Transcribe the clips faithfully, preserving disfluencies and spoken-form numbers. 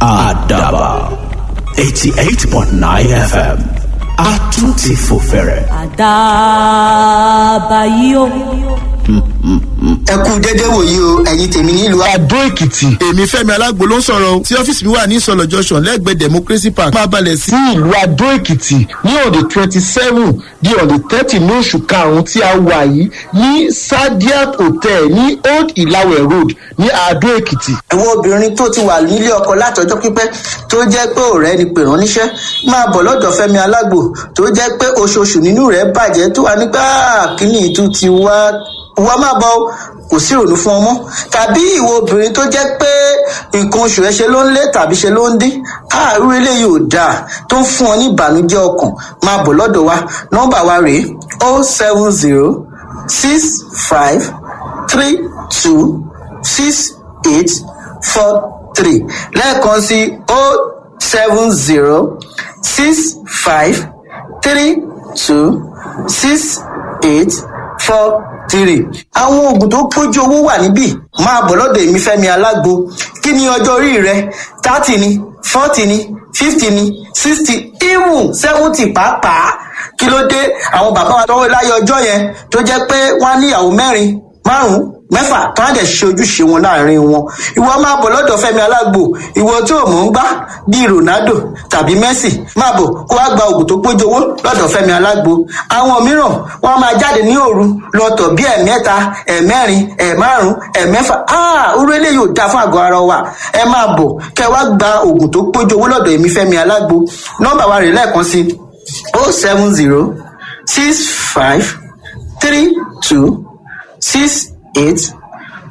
Àdàbà eighty eight point nine F M, a tún ti fò fẹ̀rẹ̀. Àdàbà yìí o. Ẹ kú dédé wòyí o, ẹ̀yin tèmi nílùú Adó Èkìtì. Èmi Fẹ́mi Alágbo ló ń sọ̀rọ̀ o, tí ọ́fíìsì mi wà ní Ìsọ̀lọ̀ Junction lẹ́gbẹ̀ẹ́ Democracy Park. Máa balẹ̀ sí ìlú Adó Èkìtì ní on the twenty seven di on the thirty ní oṣù karùn-ún tí a wà yìí, ní Sadiat Hotel ní Old Ìlàwẹ̀ Road ní Adó Èkìtì. Àwọn obìnrin tó ti wà nílé ọkọ látọjọ́ pípẹ́, tó jẹ́ pé ọ̀rẹ́ ni pè rán níṣẹ́, máa bọ̀ lọ́dọ̀ Fẹ́mi Alágbo, tó jẹ́ pé oṣooṣù nínú rẹ̀ bàjẹ́, tó wà nígbà kíní ìtú ti wá wá, máa bọ̀ o, kò sí ìrònú fún ọmọ. Tàbí ìwọ obìnrin tó jẹ́ pé nǹkan oṣù rẹ̀ ṣe ló ń lé tàbí ṣe ló ń dín, àárú eléyìí ò dáa, tó ń fún ọ ní ìbànújẹ́ ọkàn, máa bọ̀ lọ́dọ̀ wa. Nọ́mbà wa rèé: o seven zero six five three two six eight four three. Lẹ́ẹ̀kan sí: o seven zero six five three two six eight four three. Àwọn oògùn tó pójú owó wà níbí. Máa bọ̀ lọ́dọ̀ èmi Fẹ́mi Alágbo. Kí ni ọjọ́ orí rẹ? Thirty ni, forty ni, fifty ni, sixty, even seventy pàápàá. Kí ló dé? Àwọn bàbá wa tọwọ́ láyé ọjọ́ yẹn, tó jẹ́ pé wọ́n á níyàwó mẹ́rin, márùn-ún, mẹ́fà, tó á dẹ̀ ṣe ojúṣe wọn láàrin wọn. Ìwọ máa bọ̀ lọ́dọ̀ Fẹ́mi Alágbo. Ìwọ tó mọ̀ ń gbá bíi Ronaldo tàbí Messi, máa bọ̀ kó wá gba oògùn tó pójú owó lọ́dọ̀ Fẹ́mi Alágbo. Àwọn mìíràn wọ́n máa jáde ní òru lọ́tọ̀ bí ẹ̀mẹ́ta, ẹ̀mẹ́rin, ẹ̀márùn, ẹ̀mẹ́fà. Áà, orú eléyìí ò dáa fún àgọ́ ara wa. Ẹ máa bọ̀ kẹ́ wá gba oògùn tó pójú owó lọ́dọ̀ èmi Fẹ́mi Alágbo. Nọ́mbà wa rè lẹ́ẹ̀kan sí: o seven zero six five three two six eight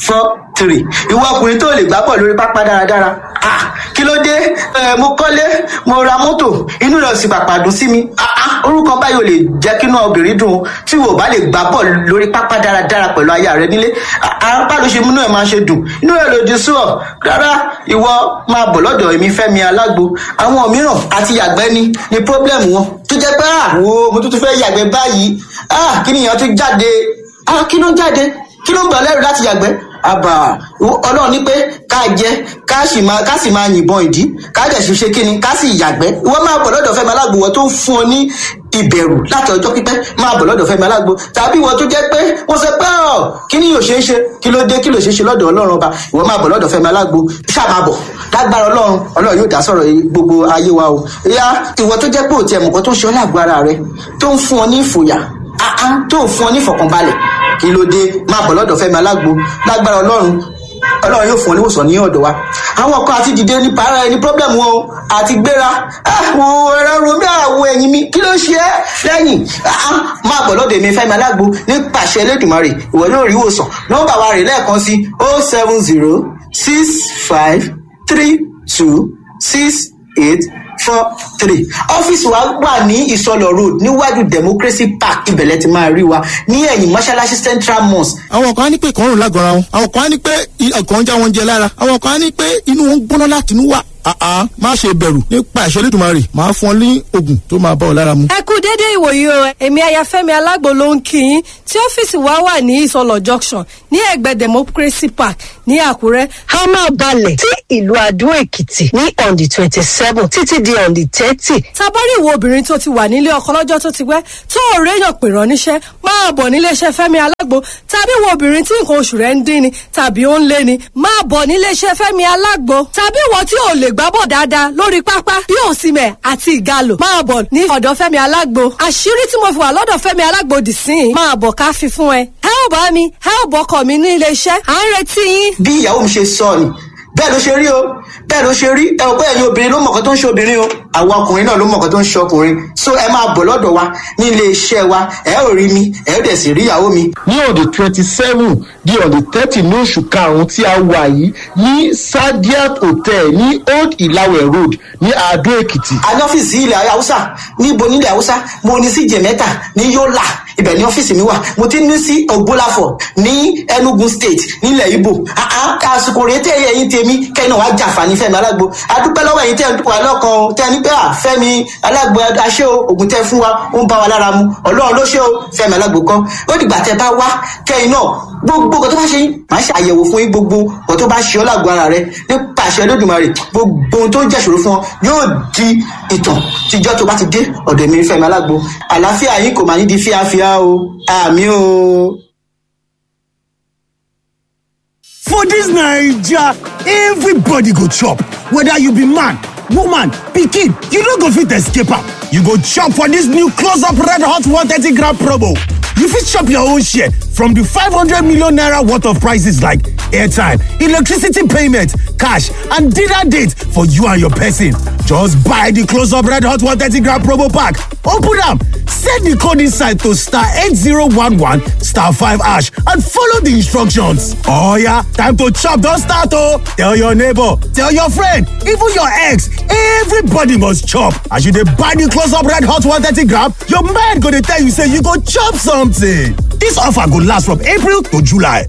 four three. Ìwọ ọkùnrin tó lè gbá bọ̀ lórí pápá dáradára, ah, kí ló dé? Ẹ mo kọ́lé, mo ra mọ́tò, inú rẹ̀ sì pàpà dùn sí mi. Ah ah, orúkọ báyìí ò lè jẹ́ kí inú obìnrin dùn. Tí wò bá lè gbá bọ̀ lórí pápá dáradára pẹ̀lú aya rẹ nílé, apá ló ṣe múnú ẹ̀ máa ṣe dùn, inú rẹ̀ lòdì sí ọ rárá. Ìwọ máa bọ̀ lọ́dọ̀ èmi Fẹ́mi Alágbo. Àwọn mìíràn àti yàgbẹ́ ni ni problem wọn, tó jẹ́ pé ah, wo, mo tún tún fẹ́ yàgbẹ́ báyìí, ah, kí nìyẹn tún jáde? Ah, kí ló ń jáde? Kí ló ń gbà lẹ́rù láti yàgbẹ́? Àbà ọlọ́run ní pé ká jẹ, ká sì máa ká sì máa yìnbọn ìdí, ká dẹ̀ sì ṣe kíni, ká sì yàgbẹ́. Ìwọ máa bọ̀ lọ́dọ̀ Fẹ́mi Alágbo. Wọ́n tó ń fún ọ ní ìbẹ̀rù láti ọjọ́ pípẹ́, máa bọ̀ lọ́dọ̀ Fẹ́mi Alágbo. Tàbí ìwọ tó jẹ́ pé wọ́n sọ pé ọ̀ kí ni yóò ṣe é ṣe, kí ló dé? Kí ló ṣe é ṣe lọ́dọ̀ ọlọ́run ọba? Ìwọ máa bọ̀ lọ́dọ̀ Fẹ́mi Alágbo, ṣáà máa bọ̀. Lágbára ọlọ́run, ọlọ́run yóò dá sọ̀rọ̀ gbogbo ayé wa o. Ìyá, ìwọ tó jẹ́ pé òtí ẹ̀mùkọ́ tó ń ṣe ọ́ lágbo ara rẹ, tó ń fún ọ ní ìfòyà, àá, tó ń fún ọ ní ìfọ̀kànbalẹ̀, kí ló dé? Máa bọ̀ lọ́dọ̀ Fẹ́mi Alágbo. Lágbára ọlọ́run, ọlọ́run yóò fún ọ níwòsàn ní ọ̀dọ̀ wa. Àwọn kan àti dìde ní para ẹni problem wọn o, àti gbéra àwọn ẹ̀rọ romi, àwọn ẹ̀yìn mi, kí ló ṣe é lẹ́yìn? Máa bọ̀ lọ́dọ̀ èmi Fẹ́mi Alágbo. Nípasẹ̀ Elédùmarè, ìwọ yóò rí ìwòsàn. Nọ́mbà wa rè lẹ́ẹ̀kan sí: o seven zero six five three two six eight four three. Ọ́fíìsì wa wà ní Ìsọlọ̀ Road, níwájú Democracy Park. Ibẹ̀lẹ̀ ti máa rí wa ní ẹ̀yìn mọ́ṣáláṣí Central Mosque. Àwọn kan á ní pé ìkọrùn lágọ̀ọ́ra wọn, àwọn kan á ní pé ọkàn ń já wọn jẹ lára, àwọn kan á ní pé inú wọn ń gbóná láti inú wá. Àá, má ṣe bẹ̀rù, nípa ìṣe Olódùmarè, máa fún ọ ní oògùn tó máa bá ọ lára mu. Ẹ kú dédé ìwòyí o. Èmi Ayafẹ́mi Alágbo ló ń kí yín, tí ọ́fíìsì wa wà ní Ìsọlọ̀ Junction ní ẹ̀gbẹ́ Democracy Park ní Àkúrẹ́. A máa balẹ̀ sí ìlú Adó Èkìtì ní on the twenty seven títí di on the thirty. Tabari ìwọ obìnrin tó ti wà nílé ọkọ lọ́jọ́ tó ti pẹ́, tó ò réyàn pè rán níṣẹ́, máa bọ̀ níléeṣẹ́ Fẹ́mi Alágbo. Tàbí ìwọ obìnrin tí nǹkan oṣù rẹ̀ ń dín ni tàbí ó ń lé ni, máa bọ̀ níléeṣẹ́ Fẹ́mi Alágbo. Tàbí ìwọ tí ò lè gbábọ̀ dáadáa lórí pápá bí Òsìmẹ̀ àti Ìgalò, máa bọ̀ ní ọ̀dọ̀ Fẹ́mi Alágbo. Àṣírí tí mo fi wà lọ́dọ̀ Fẹ́mi Alágbo dì sí i, máa bọ̀ ká fi fún ẹ. Ẹ ò bá mi, ẹ ò bọ́kọ̀ mi ní iléeṣẹ́, à ń retí yín. Bí ìyàwó mi ṣe sọ ni, bẹ́ẹ̀ ló ṣe rí o, bẹ́ẹ̀ ló ṣe rí. Ẹ ò pé ẹ̀yin obìnrin ló mọ̀kọ́ tó ń ṣe obìnrin o, àwọn ọkùnrin náà ló mọ̀kọ́ tó ń ṣe ọkùnrin. So ẹ máa bọ̀ lọ́dọ̀ wa ní ilé iṣẹ́ wa, ẹ ò rí mi, ẹ ò dẹ̀ sì rí ìyàwó mi. Ní on the twenty seven di on the thirty ní oṣù karùn-ún tí a wà yìí, ní Sadiat Hotel ní Old Ìlàwẹ̀ Road ní Adó Èkìtì. A ní ọ́fíìsì ilẹ̀ Haúsá. Níbo nílẹ̀ Haúsá? Mo ní sí Jẹ̀mẹ́ta ní Yólà, ibẹ̀ ní ọ́fíìsì mi wà. Mo ti ní sí Ògbólàfọ̀ ní Enugu State nílẹ̀ Ibo. Àsìkò rèé tẹ̀ ẹ̀yin tèmi, kẹ́yìn náà wàá jàǹfààní Fẹ́mi Alágbo. Adúpẹ́ lọ́wọ́ ẹ̀yin tẹ́ ẹ̀ ń wà lọ́kàn tẹ́ ẹ ní pé pé à Fẹ́mi Alágbo aṣẹ́ o, ògùn tẹ́ fún wa ó ń bá wa lára mu, Ọlọ́run ló ṣe o, Fẹ́mi Alágbo kọ́. Ó dìgbà tẹ́ bá wá kẹ́yìn náà gbogbo nǹkan tó bá ṣe yín, màá ṣe àyẹ̀wò fún yín, gbogbo nǹkan tó bá ṣe ọ́ lágbo ara rẹ nípa àṣẹ Olódùmarè, gbogbo ohun tó ń jẹ́ ìṣòro fún ọ yóò di ìtàn tíjọ́ tó bá ti dé ọ̀dọ̀ mi Fẹ́mi Alágbo. Àlàáfíà yín kò máa ní di fíafíà o, àmì o. For dis Naija, everybody go chop, whether you be man, woman, pikin, you no go fit escape am. You go chop for dis new close-up red hot one thirty gram promo. You fit chop your own share from the five hundred million naira worth of prices like airtime, electricity payment, cash, and dinner date for you and your person. Just buy the close-up red hot one thirty gram promo pack, open am, send the code inside to star eight zero one one star five hash and follow the instructions. Oh yeah, time to chop don start oh! Tell your neighbor, tell your friend, even your ex, everybody must chop. As you dey buy the close-up red hot one thirty gram, your mind go dey tell you say you go chop something. This offer go last from April to July.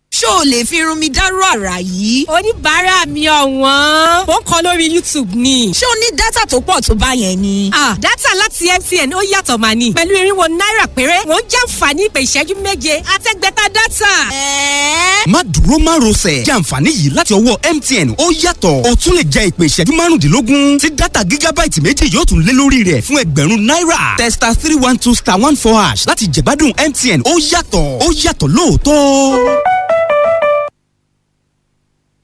Ṣó o lè fi irun mi dárò àrà yìí? Oníbàárà mi ọ̀wọ́n, ó ń kọ lórí YouTube ni. Ṣé o ní dátà tó pọ̀ tó bá yẹn ni? Ah, dátà láti M T N ó yàtọ̀ mà ní. Pẹ̀lú irinwó náírà péré, wọ́n jàǹfààní ìpè ìṣẹ́jú méje àtẹ́gbẹ́ta dátà. Ẹ̀ẹ́. Má dúró má rọsẹ̀, jẹ́ àǹfààní yìí láti ọwọ́ M T N ó yàtọ̀. O tún lè jẹ ìpè ìṣẹ́jú márùndínlógún tí dátà gígábáìtì méjì yóò tún lé lórí rẹ̀ fún ẹgbẹ̀rún náírà. Testa three one two star one four hash láti jẹ̀gbádùn M T N ó yàtọ̀, ó yàtọ̀ lóòótọ́.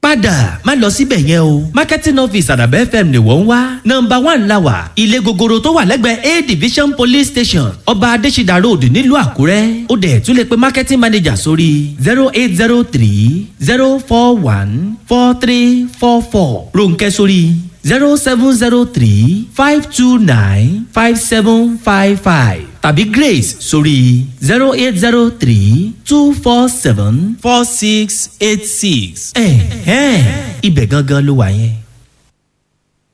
Padà má lọ síbẹ̀ yẹn o, marketing office Àdàbẹ̀ F M ni wọ́n ń wá. Nọ́mbà one la wà, ilé gogoro tó wà lẹ́gbẹ̀ẹ́ A division police station, Ọba Adésídà Road, nílùú Àkúrẹ́. Ó dẹ̀ tún lè pe marketing manager sórí zero eight zero three zero four one four three four four, Ronkẹ́ sórí zero seven zero three five two nine five seven five five tàbí Grace sórí zero eight zero three two four seven four six eight six. Ẹ̀hẹ́n, ibẹ̀ gangan ló wà yẹn.